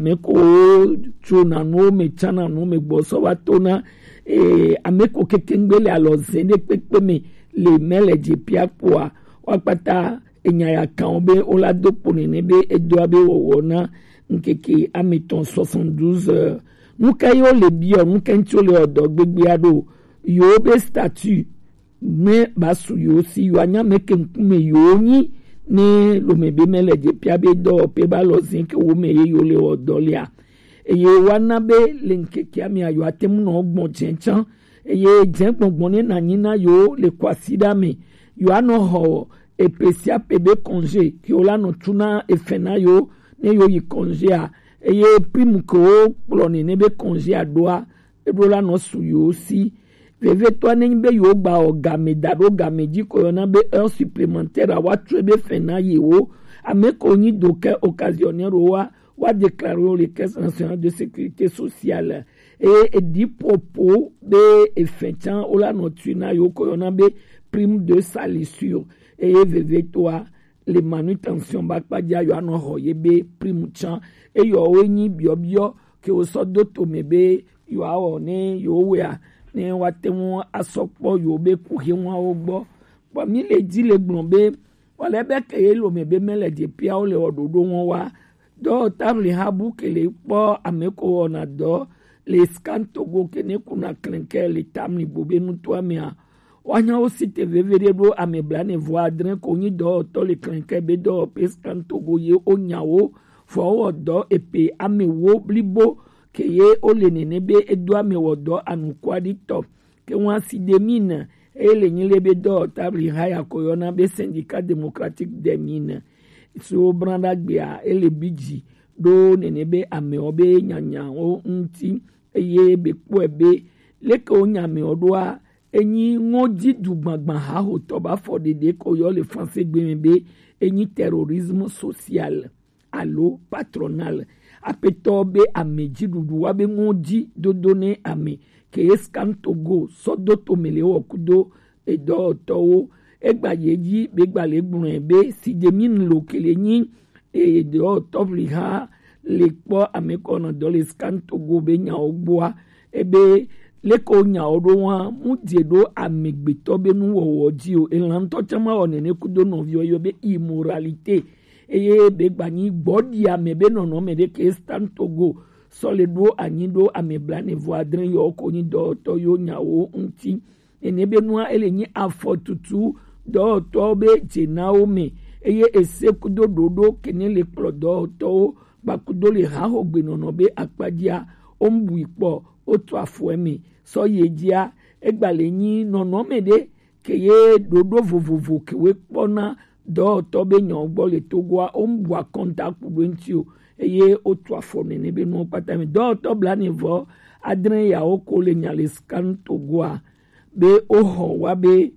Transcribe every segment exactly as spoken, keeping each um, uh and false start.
Ame ko tsona nuwo me, tsana nuwo me gbɔ sɔ va to na, eh, ame ko kekengbe le alɔ ze ɖe kpekpe me le mɛ le dze pia kpoa, wa kpata enya ya kan wo be wo la do kpo nene be edo abe wɔwɔ na ŋkeke ame etɔ̃, soixante-douze heures. Nu ka ye wo le biɔ, nu ka ŋuti wo le wɔ dɔ gbegbea ɖo? Yewo be statut ne ba su yewo si, yewo anya mɛ ke ŋkume yewo nyi, ne lome be mɛ le dze pia be dɔwɔƒe ba lɔ zin ke wo me ye yewo le wɔ dɔ lea. Eye woana be le ŋkekea mea yewo ate ŋu nɔ gbɔn dzɛn tsã. Eye dzɛn gbɔngbɔn ne na nyi na yewo le kwasiɖa me. Yewo anɔ xɔ epe sia pe be congé ke wo la nɔ tu na efɛn na yewo ne yewo yi congéa. Eye prime ke wo kplɔ nene be congéa ɖoa, eɖo la nɔ su yewo si. Vevietɔa ne nyi be yewo gba wɔ game da ɖo game dzi ko yɔna be heure supplémentaire a, wa true be fɛn na yewo. Ame ko nyi do ke occasionnaire wa, wa déclarer wo le Caisse nationale de sécurité sociale. Eye eɖi ƒoƒo be efɛn tsã wo la nɔ tui na yewo ko yɔna be prime de salissure. Eye vevietɔa le manutention ba kpa dzia yewo anɔ xɔ ye be prime tsã. Eyɔ wo nyi biɔbiɔ ke wo sɔ do to me be yewo awɔ ne yewo wɔea, ne woate ŋu asɔ kpɔ yewo be kuxiwawo gbɔ. Kpɔ mi le dzi le gblɔ be wale be ke ye lome be mɛ le dze pia wo le wɔ ɖoɖo ŋɔ wa. Dɔwɔtable ha bu ke le kpɔ ame ko wɔna dɔ le Scan Togo ke ne kuna klɛnkɛ le tamli bo be nutoa mea. Woanya wo si te veviɖe ɖo ame blaene vɔ adre ko nyi dɔwɔtɔ le klɛnkɛ be dɔwɔƒe Scan Togo ye wonya wo, vɔ wowɔ dɔ epe ame wo blibo ke ye wole nene be edo ame wɔ dɔ anukuaɖitɔ. Ke ŋua si de mine, eye le nyi le be dɔwɔtable ha ya ko yɔna be Syndicat Démocratique des Mines. So bran ɖagbea, ele bi dzi ɖo nene be amewo be nyanyawo ŋuti, eye be kpɔe be leke wonya amewo ɖoa, enyi ŋɔdzi dugbagba hahotɔ ba fɔ ɖeɖe ko yɔ le français gbe me be enyi terrorisme social alo patronal. Aƒetɔ be ame dziɖuɖu wa be ŋɔdzi dodo ne ame ke ye Scan Togo sɔ do to me le wɔ kudo edɔwɔtɔwo. Egba ye dzi be gba le gblɔe be si de mi lo ke le nyi edɔwɔtɔ vli ha le kpɔ ame kɔnɔ dɔ le Scan Togo be nyawo gbɔa, ebe leke wo nyawo ɖo wa mu dze ɖo amegbetɔ be nuwɔwɔ dzi o. Elan ŋutɔ tsã ma wɔ nene kudo nɔviwo yɔ be immoralité. Eye be gba nyi gbɔɖi ame be nɔnɔme ɖe ke Scan Togo sɔ le ɖo anyi ɖo ame blaene vɔ adre yɔ ko nyi dɔwɔtɔ yo nyawo ŋuti. Nene be nua ele nyi afɔtutu dɔwɔtɔwo be dzenawo me, eye ese kudo ɖoɖo kene le kplɔ dɔwɔtɔwo kpakudo le hahogbenɔnɔ be akpadzia, wo mu bui kpɔ, wo to afɔe me. Sɔ ye dzia, egba le nyi nɔnɔme ɖe ke ye ɖoɖo vovovo ke wo kpɔna dɔwɔtɔ be nyawo gbɔ le Togoa, wo mu bua kɔntakpu ɖo ŋuti o, eye wo to afɔ nene be nuwo kpata me. Dɔwɔtɔ blaene vɔ adre yawo ko le nya le Scan Togoa be woxɔ wa be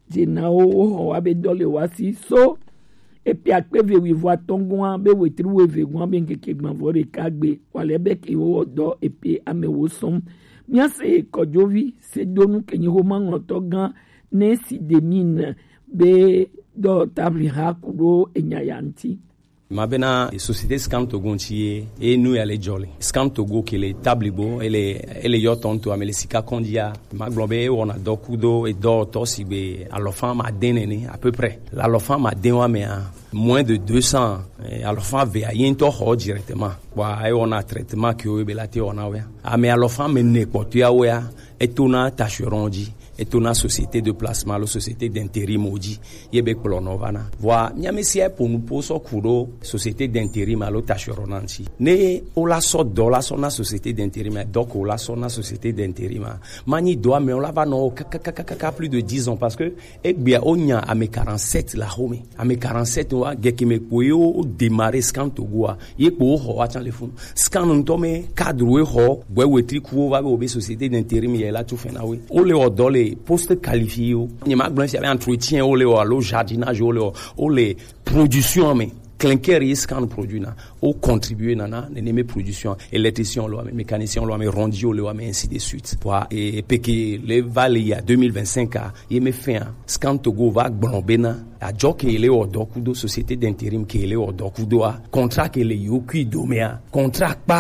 dzenawo, woxɔ wa be dɔ le wa si so epe akpe eve wuivo atɔ̃ gɔ̃a be wetri wuieve gɔ̃a be ŋkeke gbãvɔ ɖeka gbe wale be ke wowɔ dɔ epe ame wo sɔm. Míase kɔdzovi sedonu ke nyi xoma ŋlɔtɔ gã ne si de mi ne be dɔ tabli ha ku ɖo enya ya ŋuti. Ma bena société Scan Togo ŋuti ye, e nu ya le dzɔ le. Scan Togo ke le tabli bo, ele, ele yɔ tɔn to ame le sika kɔndia. Ma gblɔ be e wɔna dɔ kudo e dɔ tɔ si be alɔfã ma de nene, à peu près. La alɔfã ma de wa mea, moins de deux cents, eh, alɔfã ve a ye ŋutɔ xɔ directement. Wa e wɔna traitement ke wo be la te wɔna wea. Ame alɔfã me ne kpɔtɔa wea, e to na tacheron dzi. Eto na société de placement alo société d'intérim wo dzi ye be kplɔnɔ va na. Vɔa, mía me sia ƒo nu po sɔ ku ɖo société d'intérim alo tacheronnat ŋuti. Ne wo la sɔ dɔ la sɔ na société d'intérim, dɔ ko la sɔ na société d'intérim. Ma nyi dɔa me wo la va nɔ kakakaka plus de dix ans parce que egbea wo nya ame quarante-sept la xo me. Ame quarante-sept wa geke me kpo ye wo démarrer Scan Togo a. Ye kpo wo xɔ wa tsã le funu. Scan ŋutɔ me cadre wo xɔ, gbɛ wetri ku wo va be wo be société d'intérim ye la tso fɛn na wo. Wo le wɔ dɔ le poste qualifié wo. Nye ma gblɔ sia be entretien wo le wɔ alo jardinage wo le wɔ. Wo le production me. Clinker ye Scan produit na. Wo contribuer na na nene me production. Électricien wo le wɔ me, mécanicien wo le wɔ me, rondier wo le wɔ me, ainsi de suite. Wa e peke le va le ya deux mille vingt-cinq a. Ye me fɛn a, Scan Togo va gblɔ bena, adzɔ ke le wɔ dɔ kudo société d'intérim ke le wɔ dɔ kudo a, contrat ke le yo kui do me a, contrat kpa